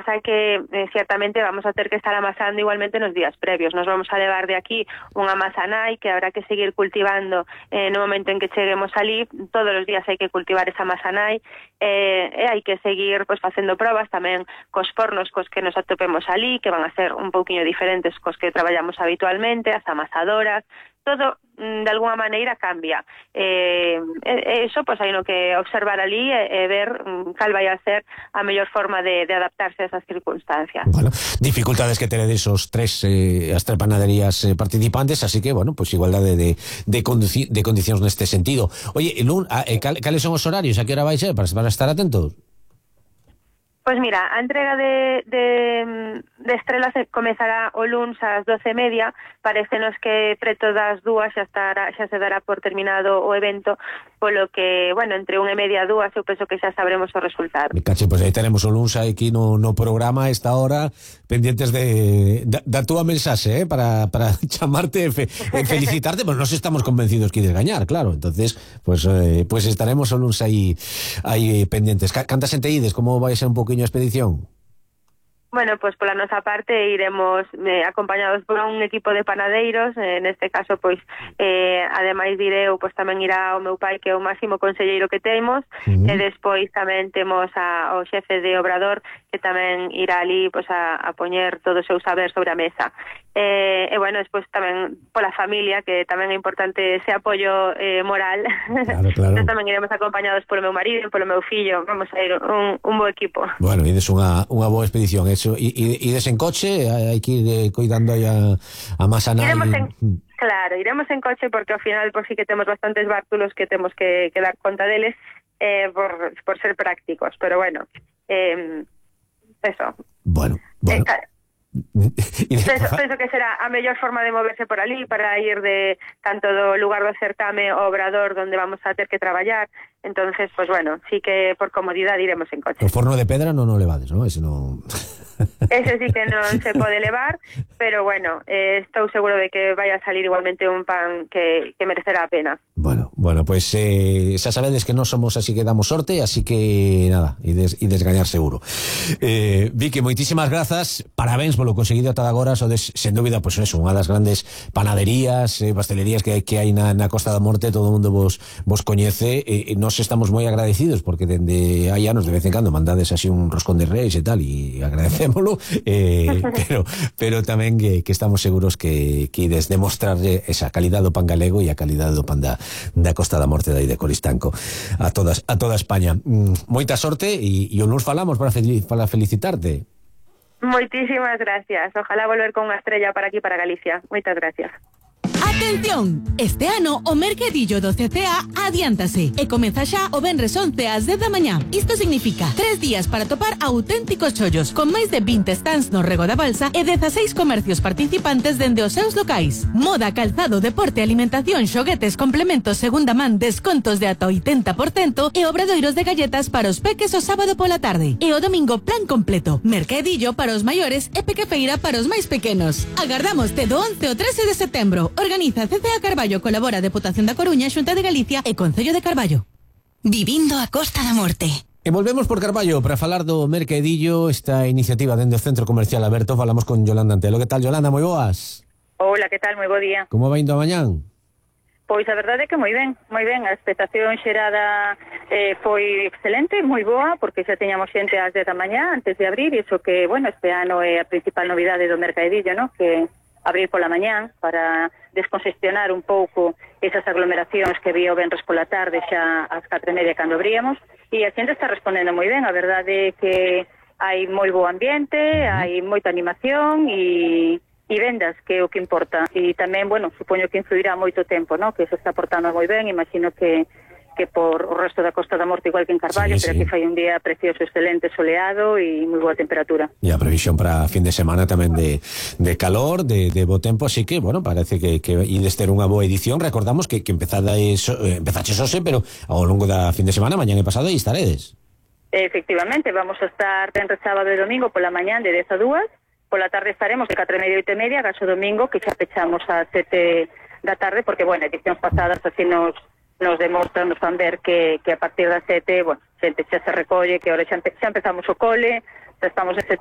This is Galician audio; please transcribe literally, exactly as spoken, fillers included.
pasa é que eh, ciertamente vamos a ter que estar amasando igualmente nos días previos. Nos vamos a levar de aquí unha masa nai que habrá que seguir cultivando eh, no momento en que cheguemos ali. Todos os días hai que cultivar esa masa nai eh, e hai que seguir pues, facendo probas tamén cos fornos cos que nos atopemos ali, que van a ser un pouquiño diferentes cos que traballamos habitualmente, as amasadoras. Todo de alguna maneira cambia. Eh, eso, pois, hai no que observar ali e, e ver cal vai a ser a mellor forma de, de adaptarse a esas circunstancias. Bueno, dificultades que tenedes os tres, eh, as tres panaderías eh, participantes, así que, bueno, pois pues, igualdade de, de, condici de condicións neste sentido. Oye, Lun, eh, cal, cales son os horarios? A que hora vai ser? Para, para estar atentos? Pois mira, a entrega de, de, de estrelas comezará o luns ás doce e media. Parécenos que preto das dúas xa, estará, xa se dará por terminado o evento, polo que, bueno, entre unha e media a dúas eu penso que xa sabremos o resultado. Me cache, pois pues aí tenemos o luns aquí no, no programa a esta hora, pendientes de da, da túa mensaxe, eh, para, para chamarte e fe, felicitarte, pois pues nos estamos convencidos que ides gañar, claro, entonces, pues, eh, pues estaremos o luns aí, aí pendientes. Canta xente ides, como vai ser un pouquiño a expedición? Bueno, pues pola nosa parte iremos eh, acompañados por un equipo de panadeiros, eh, neste caso, pois, eh, ademais direu, pois tamén irá o meu pai, que é o máximo conselleiro que temos, uh-huh. E despois tamén temos a, o xefe de Obrador, que tamén irá ali, pois, a, a poñer todo o seu saber sobre a mesa. Eh, e, bueno, despois tamén pola familia, que tamén é importante ese apoio eh, moral. Claro, claro. Entón tamén iremos acompañados polo meu marido, polo meu fillo, vamos a ir un, un bo equipo. Bueno, ides unha, unha boa expedición, eso. E, ides en coche, hai que ir eh, cuidando aí a, a masa nai. Iremos en, claro, iremos en coche porque ao final por si que temos bastantes bártulos que temos que, que dar conta deles eh, por, por ser prácticos, pero bueno, eh, eso. Bueno, bueno. Eh, claro. penso, penso que será a mellor forma de moverse por ali para ir de tanto do lugar do certame ao Obrador donde vamos a ter que traballar. Entonces, pues bueno, sí que por comodidade iremos en coche. O forno de pedra non o levades, non? Ese non... Ese sí que non se pode levar, pero bueno, eh, estou seguro de que vai a salir igualmente un pan que, que merecerá a pena. Bueno, bueno, pues eh, xa sabedes que non somos así que damos sorte, así que nada, ides, ides gañar seguro. Eh, Vicky, moitísimas grazas, parabéns polo conseguido ata agora, sodes, sen dúbida, pues eso, unha das grandes panaderías, eh, pastelerías que, que hai na, na Costa da Morte, todo o mundo vos, vos coñece, e eh, nos estamos moi agradecidos, porque dende hai anos de vez en cando mandades así un roscón de reis e tal, e agradecémolo, eh, pero, pero tamén que, que estamos seguros que, que ides demostrarlle esa calidade do pan galego e a calidade do pan da, da Costa da Morte dai de Coristanco a todas a toda España. Mm, moita sorte e, e o luns falamos para, fel, para felicitarte. Moitísimas gracias. Ojalá volver con unha estrella para aquí, para Galicia. Moitas gracias. Atención! Este ano o mercadillo do C C A adiántase e comeza xa o venres once ás dez da mañá. Isto significa tres días para topar auténticos chollos con máis de vinte stands no Rego da Balsa e dezaseis comercios participantes dende os seus locais. Moda, calzado, deporte, alimentación, xoguetes, complementos, segunda man, descontos de ata oitenta por cento e obradoiros de galletas para os peques o sábado pola tarde. E o domingo plan completo. Mercadillo para os maiores e pequefeira para os máis pequenos. Agardamos do once ao trece de setembro. Organiza C C A Carballo, colabora Deputación da Coruña, Xunta de Galicia e Concello de Carballo. Vivindo a Costa da Morte. E volvemos por Carballo para falar do mercadillo, esta iniciativa dende o Centro Comercial Aberto. Falamos con Yolanda Antelo. Que tal, Yolanda? Moi boas. Hola, que tal? Moi bo día. Como vai indo a mañán? Pois a verdade é que moi ben, moi ben. A expectación xerada eh, foi excelente, moi boa, porque xa teñamos xente ás dez da mañá antes de abrir, e iso que, bueno, este ano é a principal novidade do mercadillo, ¿no? Que abrir pola mañán para descongestionar un pouco esas aglomeracións que había o venres pola tarde xa ás catro e media cando abríamos, e a xente está respondendo moi ben. A verdade é que hai moi bo ambiente, hai moita animación e, e vendas, que é o que importa. E tamén, bueno, supoño que influirá moito tempo, ¿no? Que se está portando moi ben. Imagino que que por o resto da Costa da Morte igual que en Carballo, sí, pero sí. Aquí fai un día precioso, excelente, soleado e moi boa temperatura. E a previsión para fin de semana tamén de, de calor, de, de bo tempo, así que, bueno, parece que, que ides ter unha boa edición. Recordamos que, que empezada eso, eh, empezaches hoxe, pero ao longo da fin de semana, mañán e pasado, aí estaredes. Efectivamente, vamos a estar entre sábado e domingo pola mañán de dez a dúas, pola tarde estaremos de catro e media a oito e media, gaso domingo, que xa pechamos a sete da tarde, porque, bueno, edicións pasadas así nos nos demostran, nos fan ver que, que a partir das sete, bueno, xente xa se recolle, que ahora xa, empe, xa empezamos o cole, xa estamos en setembro,